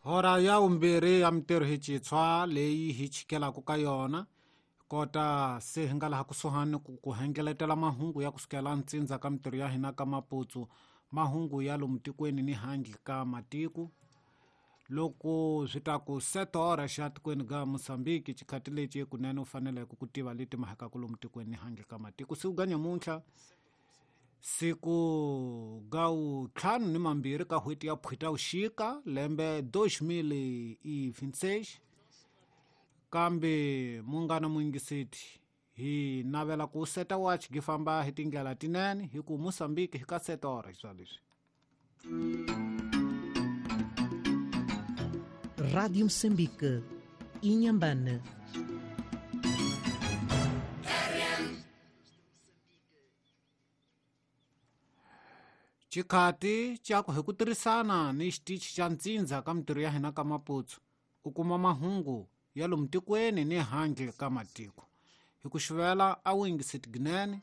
Hora ya vumbirhi ya mintirho hi citshwa leyi hi chikelaka ka yona kota se hi nga laha kusuhani ku ku hengeletela mahungu ya kusukela ntsindza ka mintirho ya hina ka maputsu, mahungu ya lomu tikweni ni handle ka matiko. Loko swi ta ku setora xa tikweni ga Mozambique xikhati lexi kunene u faneleke ku tiva leti mahakaku lomu tikweni ni handle ka matiko. Siku ga nyamuntlha siku ga 22 ka n'hweti ya Phutavuxika lembe 2026. Kambe munghana muyingiseti hi navela ku seta watch gi famba hi tindlela tinene hi ku Mozambique hi ka setora swa leswi. Rádio Moçambique, Inhambane. Xikhati xa ku hi ku tirhisana ni xitichi xa ntsindza ka mintirho ya hina ka Maputsu u kuma mahungu ya lomu tikweni ni handle ka matiko. Hi ku xivela a wu yingiseti ginene